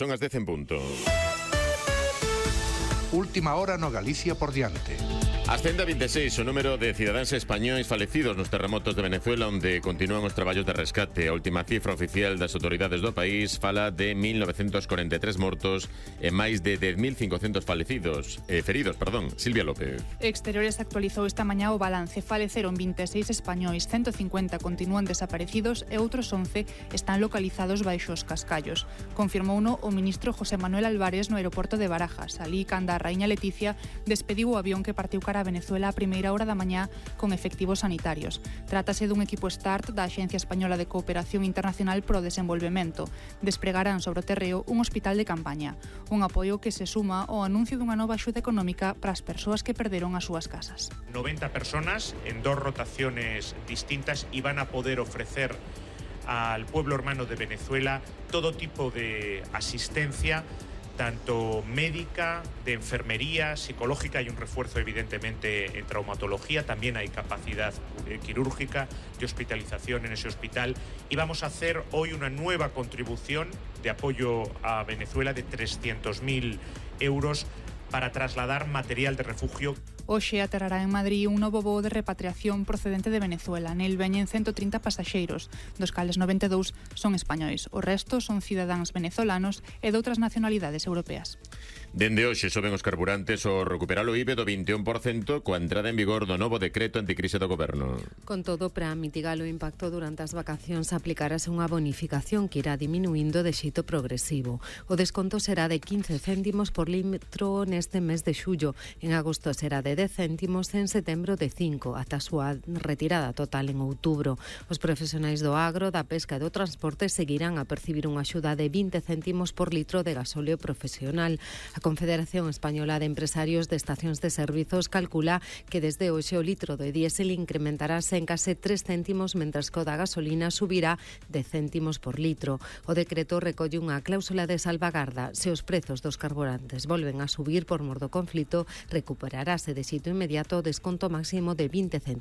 son as 10 en punto. Última hora no Galicia por diante. Ascende a 26 o número de cidadáns españois falecidos nos terremotos de Venezuela, onde continúan os traballos de rescate. A última cifra oficial das autoridades do país fala de 1943 mortos e máis de 10.500 feridos. Silvia López. Exteriores actualizou esta mañá o balance. Faleceron 26 españois, 150 continúan desaparecidos e outros 11 están localizados baixo os cascallos. Confirmouno o ministro José Manuel Álvarez no aeroporto de Barajas. Alí canda a raíña Leticia despediu o avión que partiu cara a Venezuela a primeira hora da mañá con efectivos sanitarios. Trátase dun equipo START da Axencia Española de Cooperación Internacional pro Desenvolvemento. Despregarán sobre o terreo un hospital de campaña, un apoio que se suma ao anuncio dunha nova axuda económica para as persoas que perderon as súas casas. 90 personas en 2 rotaciones distintas y van a poder ofrecer al pueblo hermano de Venezuela todo tipo de asistencia, tanto médica, de enfermería, psicológica. Hay un refuerzo evidentemente en traumatología, también hay capacidad quirúrgica, de hospitalización en ese hospital, y vamos a hacer hoy una nueva contribución de apoyo a Venezuela de 300.000 euros para trasladar material de refugio. Hoxe aterrará en Madrid un novo voo de repatriación procedente de Venezuela. Nel veñen 130 pasaxeiros, dos cales 92 son españois. O resto son cidadáns venezolanos e doutras nacionalidades europeas. Dende hoxe soben os carburantes ao recuperar o IBE do 21% coa entrada en vigor do novo decreto anticrise do Goberno. Con todo, para mitigar o impacto durante as vacacións aplicarase unha bonificación que irá diminuindo de xeito progresivo. O desconto será de 15 céntimos por litro neste mes de xullo. En agosto será de 10 céntimos, en setembro de 5, ata a súa retirada total en outubro. Os profesionais do agro, da pesca e do transporte seguirán a percibir unha axuda de 20 céntimos por litro de gasóleo profesional. A Confederación Española de Empresarios de Estacións de Servizos calcula que desde hoxe o litro de diésel incrementarase en case 3 céntimos, mentras que o da gasolina subirá de céntimos por litro. O decreto recolle unha cláusula de salvagarda. Se os prezos dos carburantes volven a subir por mor do conflito, recuperarase de xeito inmediato o desconto máximo de 20 céntimos.